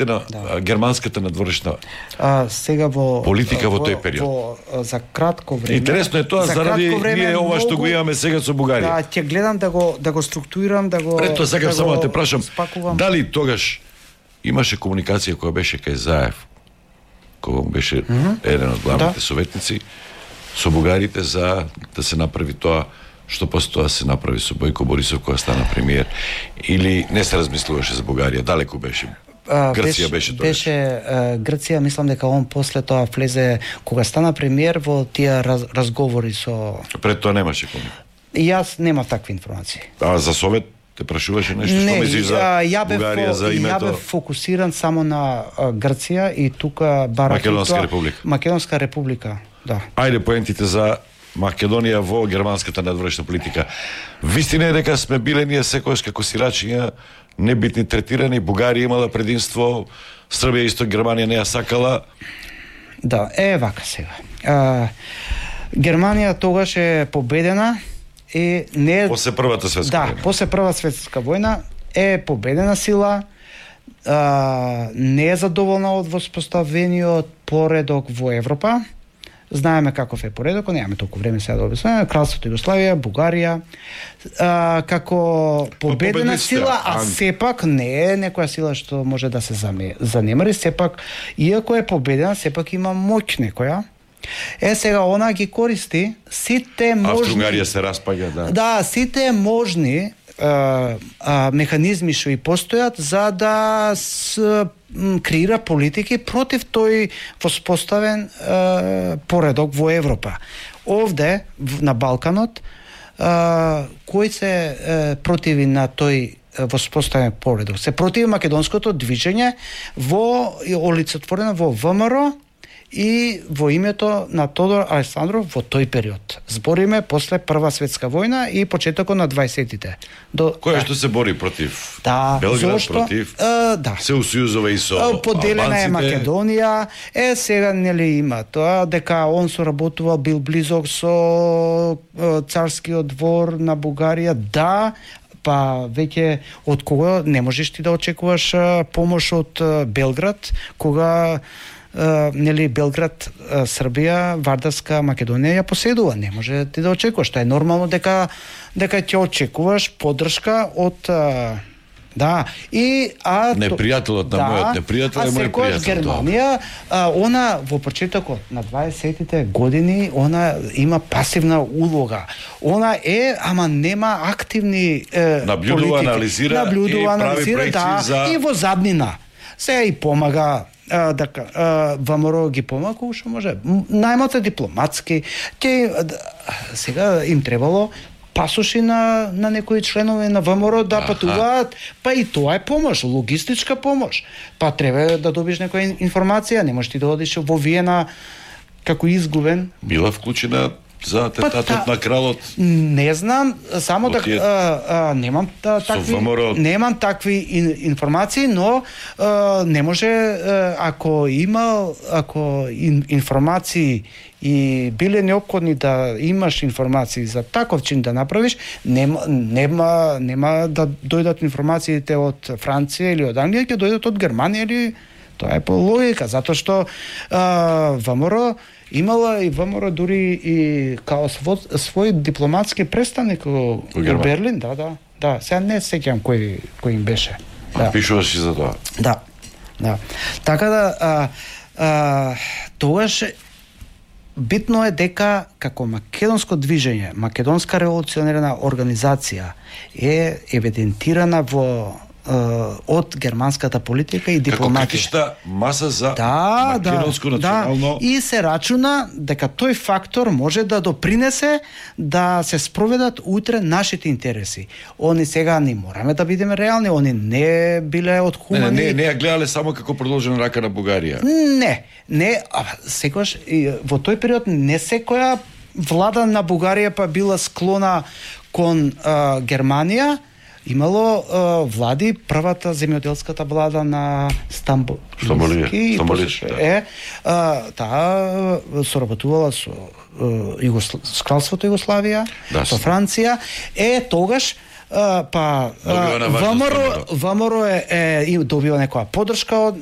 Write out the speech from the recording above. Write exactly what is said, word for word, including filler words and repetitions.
на да. германската надворешна а, сега во политика во, во тој период. Во, за кратко време. Интересно е тоа за заради време, ние ова што го имаме сега со Бугарија. Да, ќе гледам да го да го структурирам, да го Прето сакам да само да те го прашам, спакувам. дали тогаш имаше комуникација која беше кај Заев, кога беше mm -hmm. еден од главните да. советници со бугарите за да се направи тоа што после тоа се направи со Бојко Борисов кога стана премиер, или не се размислуваше за Бугарија, далеку беше? Грција беше тоа. Беше uh, Грција, мислам дека он после тоа влезе кога стана премиер во тие раз, разговори со. Пред тоа немаше комуникација. Јас немав такви информации. А за Совет те прашуваше нешто што мислиш за Бугарија, за името? Ја бев фокусиран само на uh, Грција и тука барак Македонска република. Македонска република, да. Ајде поентите за Македонија во германската надворешна политика. Вистина е дека сме биле ние секогаш како сирачиња небитни третирани, Бугарија имала предимство, Србија исто Германија не ја сакала. Да, е вака сега. А, Германија тогаш е победена и не е... После првата светска да, војна. Да, после прва светска војна е победена сила, а, не е задоволна од воспоставениот поредок во Европа. Знаеме каков е поредокот, немаме толку време сега да објаснуваме. Кралството Југославија, Бугарија, а, како победена сила, а сепак не е некоја сила што може да се занемари, сепак, иако е победена, сепак има моќ некоја. Е, сега она ги користи сите можни... Австро-Угарија се распаѓа, да. Да, сите можни а, а, механизми што и постојат за да с, м, креира политики против тој воспоставен а, поредок во Европа. Овде, на Балканот, а, кој се а, противи на тој воспоставен поредок? Се противи македонското движење во олицетворено во ВМРО и во името на Тодор Александров во тој период. Збориме после Прва светска војна и почетокот на дваесеттите. До кој што се бори против да, Белград, зошто, против а, да. се усујузува и со поделена албанците. е Македонија. Е, сега нели има тоа дека он соработувал, бил близок со царскиот двор на Бугарија. Да, па веќе од кога не можеш ти да очекуваш помош од Белград, кога Uh, нели Белград, uh, Србија, Вардарска, Македонија ја поседува. Не може ти да очекуваш. Тоа е нормално дека дека ќе очекуваш поддршка од uh, да, и а непријателот на да, мојот непријател е мој пријател. Германија, а, она во почетокот на дваесеттите години, она има пасивна улога. Она е, ама нема активни е, наблюдува, политики. анализира наблюдува, и анализира, прави проекции да, за... и во заднина. Сега и помага а, дека а, ВМРО ги помага колку што може. Најмата дипломатски, ќе сега им требало пасоши на на некои членови на ВМРО да Аха. патуваат, па и тоа е помош, логистичка помош. Па треба да добиш некоја информација, не можеш ти да одиш во Виена како изгубен. Била вклучена за атентатот па, на кралот? Не знам, само да а, а, немам та, такви ВМРО... немам такви ин, информации, но а, не може а, ако има ако ин, информации и биле неопходни да имаш информации за таков чин да направиш, нема нема нема да дојдат информациите од Франција или од Англија, ќе дојдат од Германија или тоа е по логика, затоа што а, ВМРО имала и ВМРО дури и као свој, свој дипломатски представник во Берлин, да, да, да, сега не сеќам кој кој им беше. Да. Пишуваш и за тоа. Да. Да. Така да а, а, тогаш битно е дека како македонско движење, македонска револуционерна организација е евидентирана во од германската политика и дипломатија. Како критична маса за да, македонско да, национално... Да. И се рачуна дека тој фактор може да допринесе да се спроведат утре нашите интереси. Они сега не мораме да бидеме реални, они не биле од хумани... Не, не, не ја гледале само како продолжена рака на Бугарија. Не, не, а секогаш во тој период не секоја влада на Бугарија па била склона кон а, Германија. Имало а, влади, првата земјоделската влада на Стамбул. Стамбулија, да. Е, а, таа соработувала со Југосл... с кралството Југославија, да, со Франција. Е, тогаш па Добива на важност ВМРО ВМРО. ВМРО е, е и добива некоја поддршка од